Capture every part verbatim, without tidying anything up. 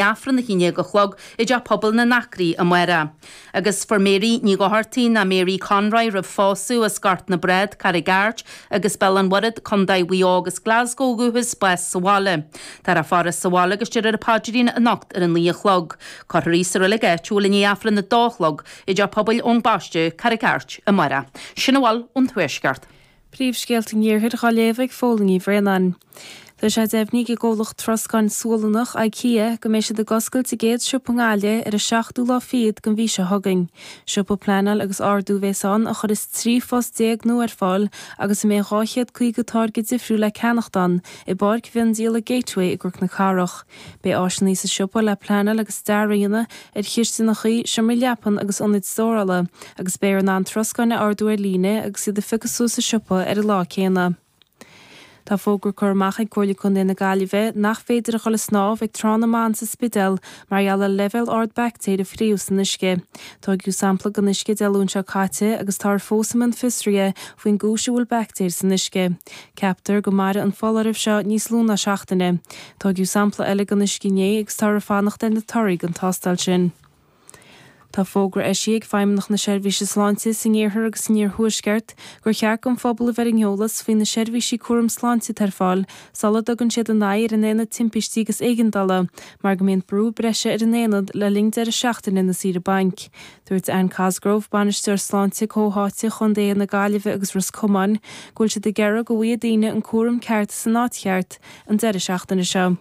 Aifreann a haon déag a chlog i dTeach Pobail na nAcraí amárach. Agus fuair Mary Ní Dhochartaigh ná Mary Conroy roimh phósadh as Gort na Brád, Carraig Airt agus Béal an Mhuirthead, Contae Mhaigh Eo agus Glasgow ó dhúchas, bás sa bhaile. Táthar á faire sa bhaile agus déarfar an paidrín anocht ar a naoi a chlog. Cuirfear í sa reilig áitiúil i ndiaidh Aifreann a dó a chlog i dTeach Pobail Eoin Baiste, Carraig Airt, amárach. Sin a bhfuil ón Tuaisceart. Príomhscéalta an Iarthair dhá léamh ag Fódhla Ní Bhraonáin. Tá sé deimhnithe ag an gcomhlacht troscáin Sualannach, IKEA, go mbeidh siad ag oscailt a gcéad siopa i nGaillimh ar an seachtú lá fichead den mhí seo chugainn. Siopa pleanáil agus ordú a bheas ann a chuirfeas trí phost déag nua ar fáil agus a mbeidh dhá chéad caoga táirge difriúil le ceannacht ann i bpáirc mhiondíola Gateway i gCnoc na Cathrach. Beidh áiseanna sa siopa le pleanáil agus dearadh a dhéanamh ar chistineacha, seomraí leapan agus ionaid stórála agus beifear in ann troscáin a ordú ar líne agus iad a phiocadh suas sa siopa ar an lá céanna. Tá fógra curtha amach ag Comhairle Contae na Gaillimhe nach féidir a dhul ag snámh ag Trá na mBan sa Spidéal mar gheall ar leibhéal ard baictéar a fríothadh san uisce. Tóigeadh sampla den uisce Dé Luain seo caite agus táthar fós i mbun fiosraithe faoin gcúis a bhfuil baictéir san uisce. Ceaptar go mairfidh an foláireamh seo níos lú ná seachtaine. Tóigeadh sampla eile den uisce inné agus táthar ag fanacht ar na torthaí den tástáil sin. Tá fógra eisithe ag Feidhmeannacht na Seirbhíse Sláinte san Iarthar agus san Iarthuaisceart gur cheart don phobal a bheith ar an eolas faoi na seirbhísí cúram sláinte atá ar fáil sula dtugann siad a n-aghaidh ar an Aonad Timpistí agus Éigeandála mar go mbíonn brú breise ar an aonad le linn deireadh seachtaine na saoire bainc. Dúirt Anne Cosgrove, Bainisteoir Sláinte Comhtháite Chontaetha na Gaillimhe agus Ros Comáin, go bhfuil siad ag iarraidh go bhfaighidh daoine an cúram ceart san áit cheart an deireadh seachtaine seo.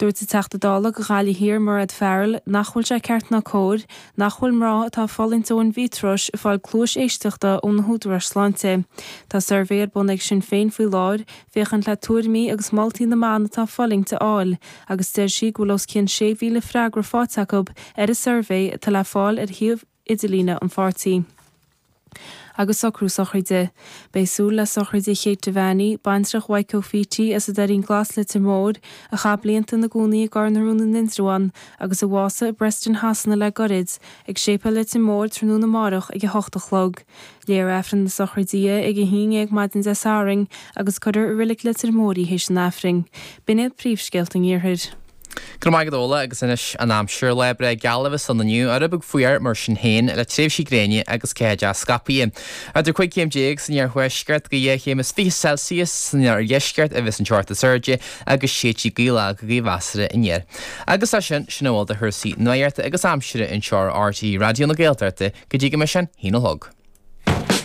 Dúirt an Teachta Dála do Ghaillimh Thiar, Mairéad Farrell, nach bhfuil sé ceart ná cóir nach bhfuil mná atá ag fulaingt ó aindmhéatróis ag fáil cluais éisteachta ó na húdaráis sláinte. Tá suirbhé ar bun ag Sinn Féin faoi láthair féachaint le tuairimí agus moltaí na mban atá ag fulaingt a fháil agus deir sí go bhfuil os cionn sé mhíle freagra faighte acu ar an suirbhé atá le fáil ar shuíomh idirlíne an pháirtí. Agus socrú sochraide. Beidh súil le sochraide Kate Devaney, baintreach Mhaidhc Ó Fíti as an Doirín Glas Leitir Móir, a chaith blianta ina gcónaí i gCorr na Rún in Indreabhán agus a bhásaigh i bPreston Shasana le goirid, ag Séipéal Leitir Móir tráthnóna amárach ag a hocht a chlog. Léifear Aifreann na sochraide di ag a haon dhéag maidin Dé Sathairn agus cuirfear i Reilig Leitir Móir í théis an Aifrinn. B'in iad príomhscéalta an Iarthair. Go raibh maith agat Fódhla agus anois an aimsir. Lá breá geal a bheas ann inniu, rud beag fuar mar sin féin, le tréimhsí gréine agus ceatha deas scaipthe. Idir cúig chéim déag san iarthuaisceart go dhá chéim is fiche Celsius san iardheisceart a bheas an teocht is airde agus séidfidh gaoth lag go gaoth mheasartha aniar. Agus leis sin, sin a bhfuil de chúrsaí nuachta agus aimsire anseo ar RTÉ Raidió na Gaeltachta go dtí go mbeidh sé an haon a chlog.